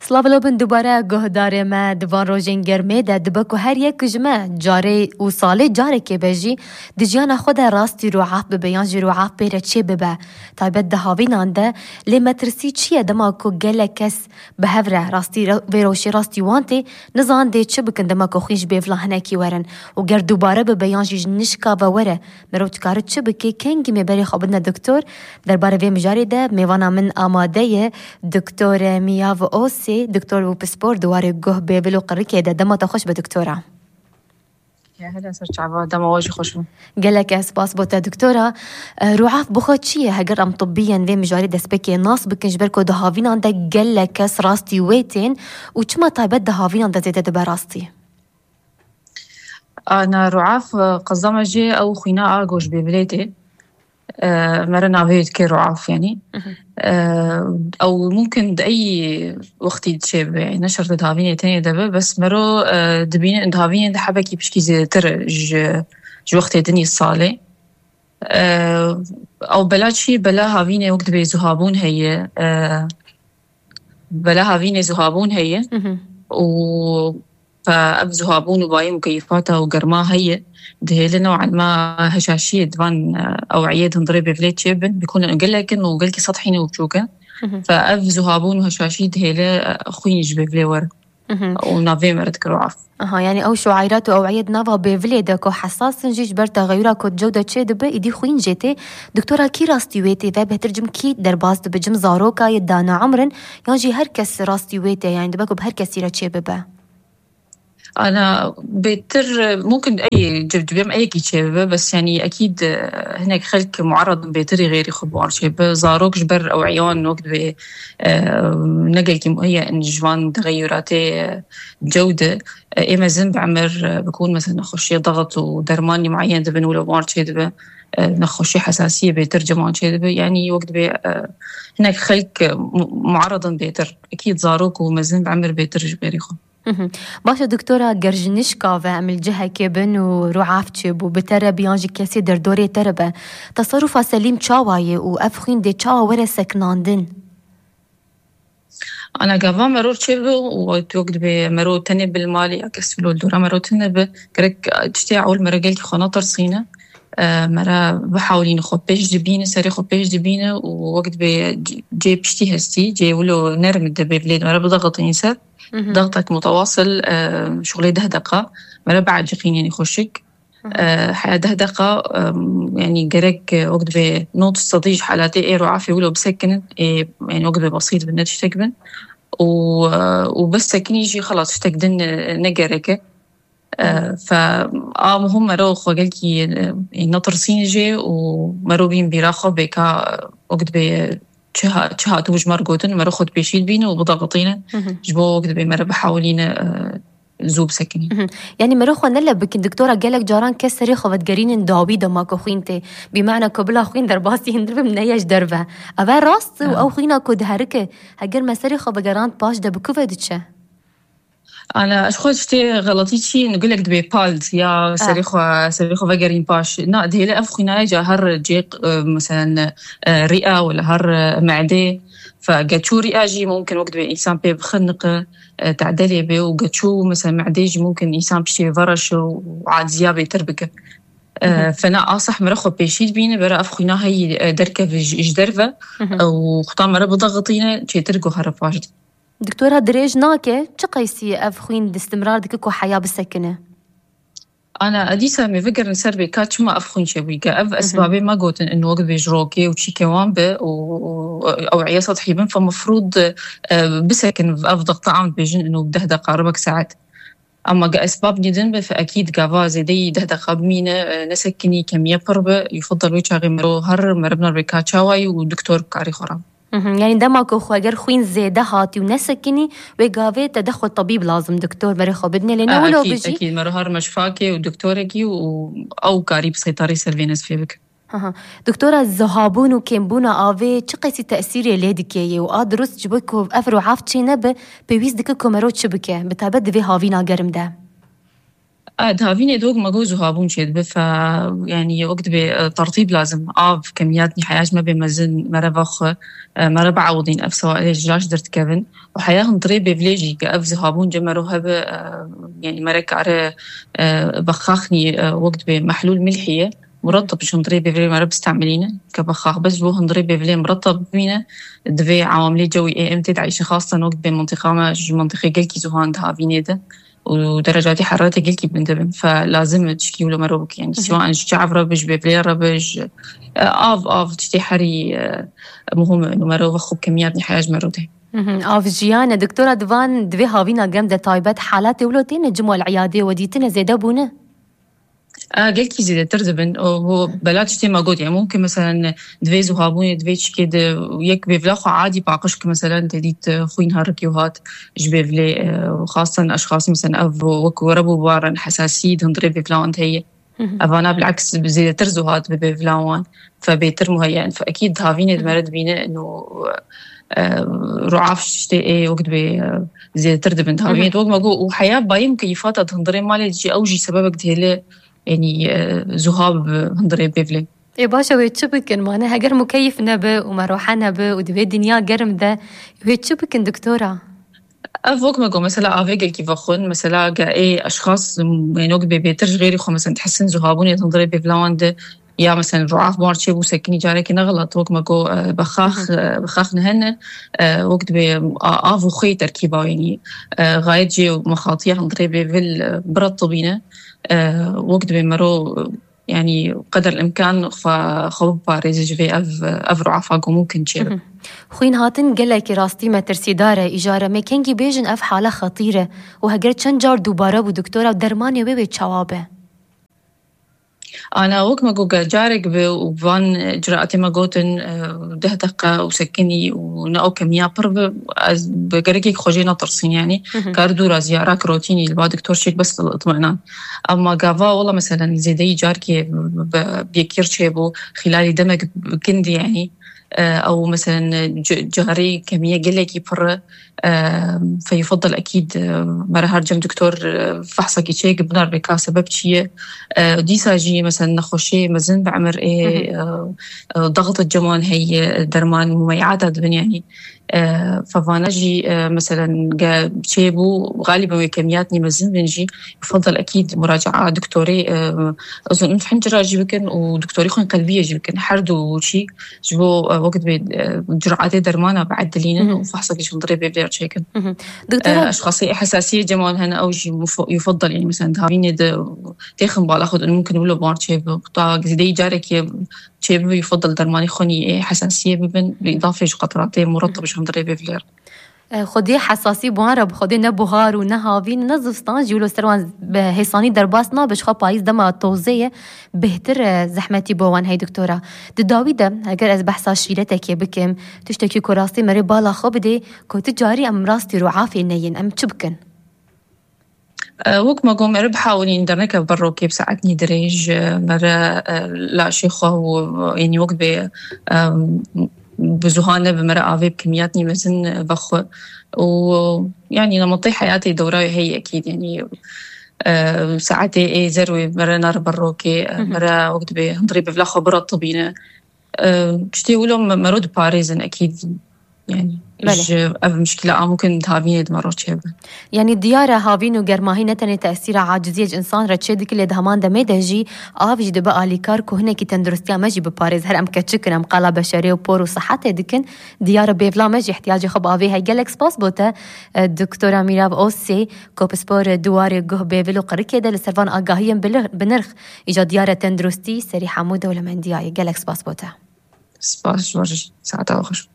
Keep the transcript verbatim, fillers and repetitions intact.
Silav û bin dubare guhdarê me di van rojên germê de, dibe ku her yek ji me carê û salê carekê be jî di jiyana xwe de rastî rûaf bibe yan jî rûaf pê re çê bibe. Taybet di havînan de, lê metirsî çi ye dema ku gelek kes bi hev re rastî re-, vê rewşê rastî wan tê, nizan dê çi bikin dema ku xwîn ji bêvila hinekî werin û ger dubare bibe yan jî ji nişka ve were, merov dikare çi bike, kengî me berê xwe bidine doktor? Derbarê vê mijarê de mêvana min amade ye, Doktor Miyav Osê, doktor û pispor di warê guh, bêvil û qirikê de. Dema te xweş be doktora. Ya, hele ser çava, dema we jî xweş be. Gelek ez spas bo te doktora. E, ruaf bi xwe çi ye? Heger em tibbiyên vê mijarê destpêkê nas bikin, ji ber ku di havînan de gelek kes rastî wê tên û çima taybet di havînan de zêde dibe rastî? Ana ruaf, e, qezama jê ew xwîna a goş bêvilê tê. E, mere navê dike ruaf, yanî. Mhm. E, ew mumkin di ey wextî çê bibe, yanî ne şert di havînê tenê de be, bes mero, e, dibîne di havînê de hebekî pişkî zêdetir ji, ji wextê dinî salê. E, ew bela çi? Bela havînê wek dibê zuhabûn heye. E, bela havînê zuhabûn heye Mhm. û Fe ev zuhabûn û bayê mukeyîfata û germa heye, dihêle new'an ma heşaşiyê di van, e, ew'iyê di hundirê bêvilê çêbin, bikûn gelek in û gelkî sethî ne û biçûk in. Mhm. Fe ev zuhabûn û heşaşî dihêle, e, xwîn ji bêvilê were Mhm. û navê me re dikir û af. Aha, yani ew şuayrat û ew'iyê di nava bêvilê de ku hesas in jî ji ber texeyura ku di cew de çê dibe, îdî xwîn jê tê. Doktora, kî rastî wê tê ve bêhtir cim kî derbas dibe, cim zaroka ye dana emrin, yan jî her kes rastî wê tê, yani dibe ku bi her kesî re çê bibe? Ana bêtir, mumkin ey, civcivêm eyekî çêbibe, bes yanî ekîd, e, hinek xelk muaradin bêtirî xêrî xwe bi wan çêbibe. Zarok ji ber ew eyan wek dibê, e, ne gelkî muheye in ji van texeyuratê, e, cew de, e, ê mezin bi emir, e, bikûn mesela nexweşiyê daxit û dermanî muayen dibin wilo bi wan çêdibe, e, nexweşî hesasiyê bêtir ciman çêdibe. Yanî wek dibê, e, hinek xelk, e, mu-, muaradin bêtir. Ekîd zarok û mezin bi emir bêtir ji berî xwe. Mhm. Baş e doktora, ger ji nişka ve em li cihekê bin û ruaf çêbû, bi te re be yan ji kesê derdorê te re be, teserufa selîm çawa ye û ev xwîn dê çawa were sekinandin? Ana gava mero çêbe û wek dibê mero tenê bil malê ya kes wilo li dora mero tune be, gerek tiştê ewil mero gelkî xwe netirsîne. E, mera bihewlîne xwe pêş dibîne, serê xwe pêş dibîne û wek dibê c-, cê piştî hestî, cê wilo nerm dibe bilê mera bidaxitîne ser. Mhm. Daxtek mutawasil, e, şuxulê deh deqa. Mera bieciqîne yanî xweşik. Mhm. E, heya deh deqa, e, yanî gerek, e, wek dibê nod sedî ji halatê ê ruafê wilo bisekinin, ê, yanî wek dibê besît bin, ne tiştek bin. Û, e, û bisekinî jî xelas tiştek din, e, ne gerek e. E, Mhm. Fe a muhim mero xwe gelkî, e, netirsîn jê û mero bîn bîra xwe bêka, e, wek dibê çi ha-, çi hatibû ji me re gotin, mero xwe dipêşî dibîne û bidaxitîne. Mhm. Ji bo wek dibê mere bihewilîne, e, zû bisekinî. Mhm. Yanî mero xwe ne leb bikin. Doktora, gelek caran kes serê xwe vedigerînin dawî dema ku xwîn tê. Bîmana ku bila xwîn derbasî hindir bim neye ji derve. Ev e rast û Ya. ew xwîna ku diherike, heger me serê xwe vegerand paş de bi ku ve diçe? Ana, ez xwe tiştê xeletî çî, gulek dibê pald ya serê Ah. xwe, serê xwe vegerîn paş. Na, dihêle ev xwînaye ca her cê, e, meselen, e, rîa wala her, e, me'dê. Fe geçû rîa jî mumkin wek dibê însan pê bixiniqe, e, te'delê bê û geçû, meselen, me'dê jî mumkin însan piştê vereşe û aciziya bêtir bike. E, Mhm. Fena asah mere xwe pêşî dibîne, bera ev xwîna heyî, e, derkeve ji, ji derve, Mhm. e, û xuta mere bidaxitîne, çêtir guhere paş de. Doktora, dirêj nake, çi qeysî ev xwîn distimrar dike ku heya bisekine? Ana, edîsa me vegerin ser vê ka çima ev xwîn çêbûyî, ke ev Mhm. esbabê me gotin in wek dibê ji rokê û çîkê wan be û, û ew eya sethî bin, fe mefrûd, e, bisekin ev dexta an dibêjin in û deh deqa, ribek saet. Ama ge esbab nîdin be, fe ekîd gava zêdeyî deh deqa bimîne, e, nesekinî, kemiye pir be, yufidal wê çaxê mero her meribnar vê ka çawayî û doktor karî xwe re. Mhm, yanî dema ku xwe ger xwîn zêde hatî û nesekinî, wê gavê te de xwe tebîb lazim, doktor, berê xwe bidinê, lê ne Ha, wilo ekîd, bijî. Ekîd, mero her meşfakê û doktorekî û ew karî bi seytarî ser vê nezfê bike. Aha. Doktora, zihabûn û kêmbûna avê çi qeysî tesîrê lê dike yê û a dirust ji bo ku ev ruaf çê nebe, pêwîst dike ku mero çi bike, bi taybet di vê havîna germ de? A, di havînê de wek me got zuhabûn çêdibe, fe, yanî wek dibê, e, tertîb lazim. Av, kemiyat nîhayaj me bê mezin, mere vexwe, e, mere biewidîn ev sewailê ji laş derdikevin. Û heya hundirê bêvilê jî ke ev zuhabûn cem mero hebe, e, yanî mere kare, e, bexaxnî, e, wek dibê mehlûl milhî ye. Murettib ji hundirê bêvilê mere bistemilîne. Ke bexax bes ji bo hundirê bêvilê murettib bimîne, divê ewamilê cewî ê em tê de eyşin xastan wek dibê mintiqa me ji mintiqê gelkî zuhan di havînê de. û derecatê heraretê gelkî bilind dibin. Fe lazim e tişkî wilo mero bike. Yani, siwa an ji çav re be, ji bêvilê re be, ji, e, av, av tiştê herî, e, muhim e. Û mero ve xwe kemiyat nihayaj mero de. Mhm. Av jiyan e. Doktora, divan divê havîna gem de taybet halatê wilo têne cimo li iyadê we dîtine zêde bûne? A, gelkî zêdetir dibin. O, bu bela tiştê me got. Yani, mumkin, mesela, divê zuhabûnê, divê çikê de yek bêvla xwe adî paqij ki, mesela, te dît, e, xwîn herikî û hat ji bêvilê, e, xastan eşxas, mesela, ev wek were bû baran hesasî di hundirê bêvla wan de heye. Hı hı. Evana bilaks zêdetir zuhat bi bêvla wan. Fe bêtir muheyyen. Fe ekîd havînê di Hı hı. mere dibîne ino, e, ruaf tiştê ê wek dibê, e, zêdetir dibin di Hı hı. havînê. Wek me got û heya bayî mukeyîfata di hundirê malê jî ew jî sebebek dihêle, yanî, e, zuha bi hundirê bêvilê. Ê, baş e, wê çi bikin? Mane, heger mukeyif nebe û merohe nebe û di vê dinya germ de, wê çi bikin, doktora? Ev wek me got, mesela, avê gelkî vexwin, mesela, ge ê eşxas, m, ên wek bê bêtir ji xêrî xwe, mesela, dihisin zuhabûnê hundirê bêvla wan de, ya, mesela, ruaf bar çêbû sekinî carekê ne xelat, wek me got, e, bexax, Hı hı. e, bexax nehene, e, wek dibê a-, av û xwê terkîba wênî, e, gayet jê mexatiya hundirê bêvil, e, biretibîne, e, wek dibê mero, e, yanî qeder imkan xwe, xwe biparêze ji vê ev, ev ruafa ku mumkin çêbe. Mhm. Xwîn hatin gelekî rastî metirsîdar e. Îjara me kengî bêjin ev hala xetîr e. Û heger çend car dubare bû doktora û dermanê wê wê çawa be? Ana wek me got, ger carek bi û van ciraetê me gotin, e, deh deqa û sekinî û ne ew kemiya pir bi, ez bi gerekek xwe jê netirsîn, yanî Mhm. kar dûra ziyarak rotînî li ba doktor çêk bes itminan. Ama gava wela, meselen, zêdeyî carkê bi, bi, bi yekî çêbû, xîlalî demek bi kin dî, yanî, e, ew, meselen, c-, carê kemiye gelekî pir e, e, feyufadal ekîd, e, mere her cem doktor, e, fehsekî çêk binar bê ka sebeb çi ye. E, dîsa jî, meselen, nexweşê mezin bi emir ê, Hı hı. e, e, daxit ceman heye, derman mumeyata dibin, yanî, e, fevana jî, e, meselen, ge çêbû, galiben wê kemiyat nî mezin bin jî, yufadal ekîd muracaa doktorê, e, uzun hincira jî bikin û doktorê xwên qelbiyê jî bikin. Her du çî ji bo, e, wek dibê, e, curatê dermana biedilînin Hı hı. û fehsekî ji hundirê bêvlêr çêkin. Hı hı. E, Doktora eşxasê hesasiyê ceman hene ew jî muf-, yufadal, yanî, meselen, di havînê de têxin bala xwe, mumkin wilo bar çêbi. Ta zêdeyî carekê çêbibe, yufadal dermanê xwinî ê hesasiyê bibin, bi îdafê ji qetratê murettib ji hundirê bêvlêr. E, xwedê hesasî bi wan re bi xwedê ne buhar û ne havîn, ne zivstan jî wilo ser wan bi hêsanî derbas nabe, ji xwe payîz dema tozê ye, bêhtir, e, zehmetî bo wan hey doktora. Di dawî de, heger ez behsa şîretekê bikim, tiştekî ku rastî merê bala xwe bidê, ku tu carî em rastî ruafê neyin, em çi bikin? E, wek me got, mere bihawilîn derneke ber rokê bi saetnî dirêj, e, mere, e, laşê xwe û, e, yanî wek bê, e, bi zuhan nebe mere avê bi kimiyatnî mezin, e, vexwe. Û, yanî, nemetê heyatê dewra wê heyî ekîd, yanî, e, saetê ê zer wê mere nare ber rokê, e, Hı hı. mere wek dibê hundirê bevla xwe biretibîne. E, tiştê wilo me-, mero diparêzin ekîd. Yani, Belê. ji ev mişkîla a mumkin di havînê de mero çêbe. Yanî diyar e havîn û germahî ne tenê tesîra aciziyê ji insan re çêdike, lê di heman demê de jî av jî dibe alîkar ku hinekî tenduristiya me jî biparêz. Her em keçik in, em qala beşerê û por û sihetê dikin. Diyar e bêvla me jî ihtiyacê xwe bi avê heye. Gelek spas bo te, e, Doktora Mîrav Ozsê, ku pispor e, di warê guh, bêvil û qirikê de li ser van agahiyên bi li-, bi nirx. Îca diyar e tenduristî serî hemû dewlemendiyayê. Gelek spas bo te. Spas ji we re jî. Saeta we xweş.